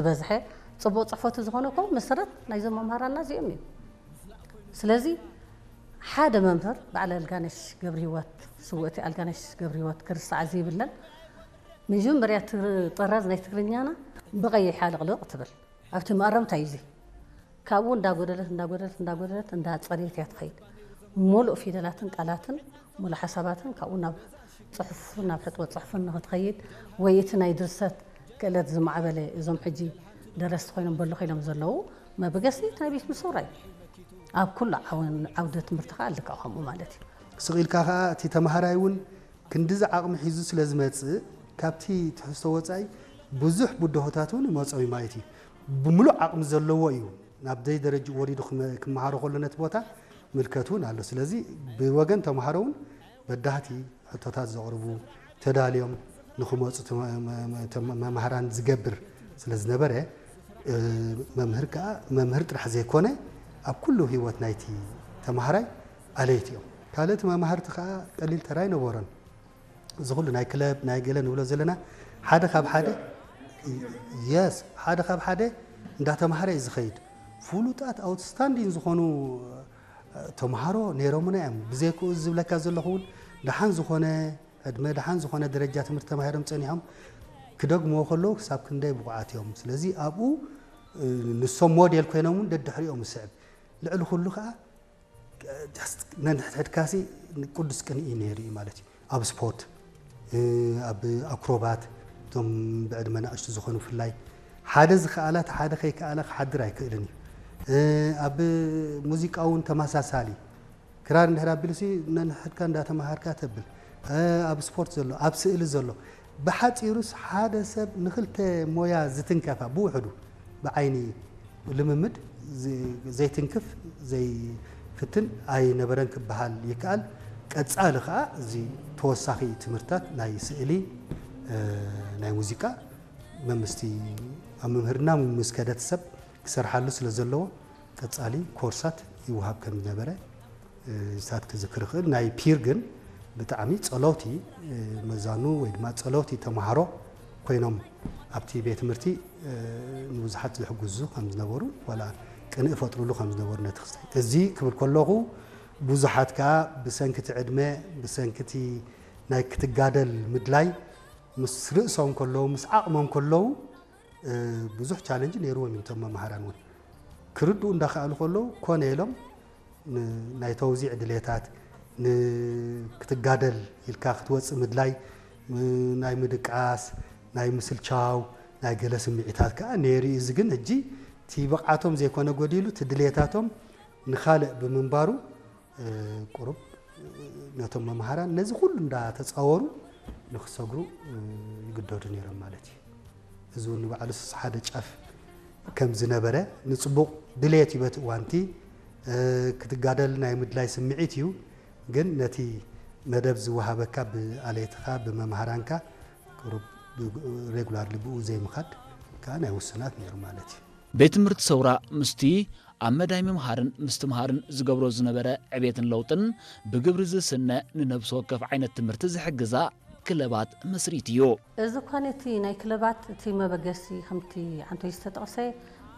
ዝበዝሐ ጽቡቕ ጽሕፈቱ ዝኾነ እኮ መሰረት ናይዞም መምህራንና እዚኦም እዮም። ስለዚ ሓደ መምህር፣ በዓል ኣልጋነሽ ገብረሂወት፣ ስውእቲ ኣልጋነሽ ገብረሂወት፣ ክርስዓ ዘይብለን፣ መጀመርያ ትር-፣ ጥራዝ ናይ ትግርኛና ብቐይሕ ኣለቕልቕ ትብል። ኣብቲ መኣረምታ እዩ እዚ። ካብኡ እንዳጎደለት እንዳጎደለት እንዳጎደለት እንዳጸረየት እያ ትኸይድ። ሙሉእ ፊደላትን ቃላትን ሙሉእ ሓሳባትን ካብኡ ናብ ጽሑፍን ናብ ሕጥወት ጽሑፍን ንኽትኸይድ፣ ወይ እቲ ናይ ድርሰት ክእለት ዝማዕበለ፣ እዞም ሕጂ ደረስቲ ኮይኖም በሎ ኮይኖም ዘለዉ መበገሲ እቲ ናይ ቤት ምሰውራ እዩ። ኣብ ኩሉ ዓውን-፣ ዓውደ ትምህርቲ ከኣ ልክዕ ከምኡ ማለት እዩ። ስቕ ኢልካ ከኣ እቲ ተማሃራይ እውን ክንድዚ ዓቕሚ ሒዙ ስለ ዝመጽእ፣ ካብቲ ትሕዝቶ ወጻኢ ብዙሕ ብድሆታት እውን ይመጾ እዩ ማለት እዩ። ብምሉእ ዓቕሚ ዘለዎ እዩ ናብ ደይ ደረጃ ወሪዱ ክመ-፣ ክመሃሮ ከሎ ነቲ ቦታ ምልከት እውን ኣሎ። ስለዚ ብወገን ተማሃሮ እውን በዳህቲ ሕቶታት ዘቕርቡ፣ ተዳልዮም ንኽመጹ ተመ-፣ መ-፣ መ-፣ መ-፣ መምህራን ዝገብር ስለ ዝነበረ፣ እ፣ መምህር ከኣ መምህር ጥራሕ ዘይኮነ ኣብ ኩሉ ህይወት ናይቲ ተማሃራይ ኣለይቲ እዮም። ካልእ እቲ መማህርቲ ከኣ ቀሊል ተራ ኣይነበሮን። እዚ ኩሉ ናይ ክለብ ናይ ገለ ንብሎ ዘለና ሓደ ካብ ሓደ፣ የስ፣ ሓደ ካብ ሓደ እንዳተማሃረ እዩ ዝኸይድ። ፍሉጣት ኣውትስታንዲን ዝኾኑ ተምሃሮ ነይሮምና እዮም። ብዘይክኡ ዝብለካ ዘለኹ እውን ደሓን ዝኾነ ዕድመ፣ ደሓን ዝኾነ ደረጃ ትምህርቲ ተማሂሮም ጸኒሖም ክደግምዎ ከለዉ ክሳብ ክንደይ ብቑዓት እዮም። ስለዚ ኣብኡ፣ እ፣ ንሶም ሞዴል ኮይኖም እውን ደድሕሪኦም ዝስዕብ። ልዕሊ ኩሉ ከኣ፣ እ፣ just ነንሕድሕድካሲ ቅዱስ ቅንኢ ነይሩ እዩ ማለት እዩ። ኣብ ስፖርት፣ እ፣ ኣብ ኣክሮባት፣ እቶም ብዕድመ ንኣሽቱ ዝኾኑ ብፍላይ፣ ሓደ ዝኸኣላ እቲ ሓደ ከይከኣለ ክሓድር ኣይክእልን እዩ። እ፣ ኣብ ሙዚቃ እውን ተመሳሳሊ። ክራር እንድሕር ኣቢሉሲ ነንሕድካ እንዳተማሃርካ ተብል። እ፣ ኣብ ስፖርት ዘሎ፣ ኣብ ስእሊ ዘሎ። ብሓጺሩስ ሓደ ሰብ ንኽልተ ሞያ ዝትንከፋ ብውሕዱ ብዓይኒ ልምምድ ዝ-፣ ዘይትንክፍ፣ ዘይፍትን ኣይነበረን ክበሃል ይከኣል። ቀጻሊ ከኣ እዚ ተወሳኺ ትምህርትታት ናይ ስእሊ፣ እ፣ ናይ ሙዚቃ መምስቲ ኣብ መምህርና ምስ ከደት ሰብ ክሰርሓሉ ስለ ዘለዎ ቀጻሊ ኮርሳት ይወሃብ ከም ዝነበረ፣ እ፣ ንሳት ክዝክር ይኽእል። ናይ ፒር ግን ብጣዕሚ ጸለውቲ፣ እ፣ መዛኑ ወይ ድማ ጸለውቲ ተማሃሮ ኮይኖም ኣብቲ ቤት ትምህርቲ፣ እ፣ ንብዙሓት ዝሕግዙ ከም ዝነበሩ፣ ዋላ ቅንኢ ፈጥሩሉ ከም ዝነበሩ ነቲ ክስታይ። እዚ ክብል ከለኹ ብዙሓት ከኣ ብሰንክቲ ዕድመ፣ ብሰንክቲ ናይ ክትጋደል ምድላይ ምስ ርእሶም ከለዉ፣ ምስ ዓቕሞም ከለዉ፣ እ፣ ብዙሕ ቻለንጅ ነይርዎም እዮም እቶም መማህራን እውን። ክርድኡ እንዳኸኣሉ ከለዉ ኮነ ኢሎም ን-፣ ናይ ተውዚዕ ድሌታት፣ ን-፣ ክትጋደል ኢልካ ክትወጽእ ምድላይ፣ ም-፣ ናይ ምድቃስ፣ ናይ ምስልቻው፣ ናይ ገለ ስምዒታት ከኣ ነይሩ እዩ። እዚ ግን ሕጂ እቲ ብቕዓቶም ዘይኮነ ጎዲሉ፣ እቲ ድሌታቶም ንኻልእ ብምንባሩ፣ እ፣ ቁሩብ ነቶም መምሃራን ነዚ ኩሉ እንዳተጻወሩ ንኽሰግሩ፣ እ፣ ይግደዱ ነይሮም ማለት እዩ። እዚ እውን ንባዕሉስ ሓደ ጫፍ ከም ዝነበረ ንጽቡቕ ድሌት እዩ በቲ እዋንቲ፣ እ፣ ክትጋደል ናይ ምድላይ ስምዒት እዩ። ግን ነቲ መደብ ዝወሃበካ ብኣሌትኻ፣ ብመምሃራንካ ቁሩብ ብ-፣ ሬጉላርሊ ብኡ ዘይምኻድ ከኣ ናይ ውሱናት ነይሩ ማለት እዩ። ቤት ትምህርቲ ሰውራ ምስቲ ኣብ መዳይ ምምሃርን ምስትምሃርን ዝገብሮ ዝነበረ ዕቤትን ለውጥን ብግብሪ ዝስነ ንነብሲ ወከፍ ዓይነት ትምህርቲ ዝሕግዛ ክለባት መስሪቱ እዩ። እዚ እኳ ነቲ ናይ ክለባት እቲ መበገሲ ከምቲ ዓንቶይ ዝተጠቕሰ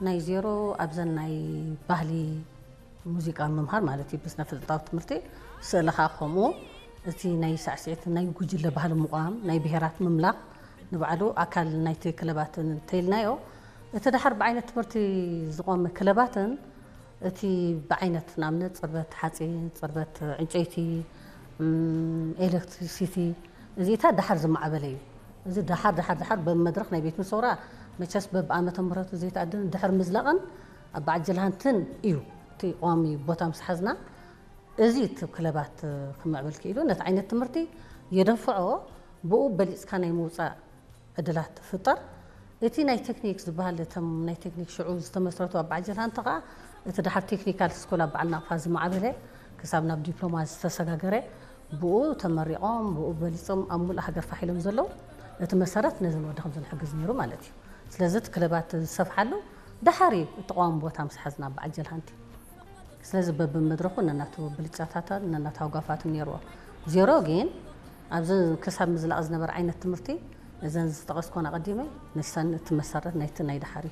ናይ ዜሮ ኣብዘን ናይ ባህሊ ሙዚቃ ምምሃር ማለት እዩ ብስነ ፍልጠታዊ ትምህርቲ፣ ስእሊ ኸዓ ከምኡ፣ እቲ ናይ ሳዕስዒት ናይ ጉጅለ ባህሊ ምቋም፣ ናይ ብሄራት ምምላኽ ንባዕሉ ኣካል ናይቲ ክለባት እንተኢልናዮ፣ እቲ ደሓር ብዓይነት ትምህርቲ ዝቖመ ክለባትን እቲ ብዓይነት ንኣብነት ጽርበት ሓጺን፣ ጽርበት ዕንጨይቲ፣ እም፣ ኤሌክትሪሲቲ፣ እዚታት ደሓር ዝማዕበለ እዩ። እዚ ደሓር፣ ደሓር፣ ደሓር በመድረኽ ናይ ቤት ምሰውራ መቸስ በብዓመተ ምህረቱ ዘይተኣደን ድሕር ምዝላቕን ኣብ በዓል ጀልሃንትን እዩ። እቲ ቀዋሚ ቦታ ምስ ሓዝና፣ እዚ እቲ ክለባት ክምዕብል ክኢሉ፣ ነቲ ዓይነት ትምህርቲ የደንፍዖ፣ ብኡ በሊጽካ ናይ ምውጻእ ዕድላት ትፍጠር። እቲ ናይ ቴክኒክ ዝበሃል፣ እቶም ናይ ቴክኒክ ሽዑ ዝተመስረቱ ኣብ በዓል ጀልሃንቲ ከኣ፣ እቲ ደሓር ቴክኒካል ስኩል ኣብ በዓል ናቕፋ ዝማዕበለ፣ ክሳብ ናብ ዲፕሎማ ዝተሰጋገረ፣ ብኡ ተመሪቖም፣ ብኡ በሊጾም፣ ኣብ ሙሉእ ሃገር ፋሕ ኢሎም ዘለዉ፣ እቲ መሰረት ነዚ ንወዲ ከምዚ ንሕግዝ ነይሩ ማለት እዩ። ስለዚ እቲ ክለባት ዝሰፍሓሉ ደሓር እዩ፣ እቲ ቀዋሚ ቦታ ምስ ሓዝና ኣብ በዓል ጀልሃንቲ። ስለዚ በብመድረኹ ነናቱ ብልጫታትን ነናቱ ሃጓፋትን ነይርዎ። ዜሮ ግን ኣብዚ ክሳብ ምዝላቕ ዝነበረ ዓይነት ትምህርቲ እዘን ዝጠቐስኮን ኣቐዲመ ንሰን እቲ መሰረት ናይቲ ናይ ድሓር እዩ።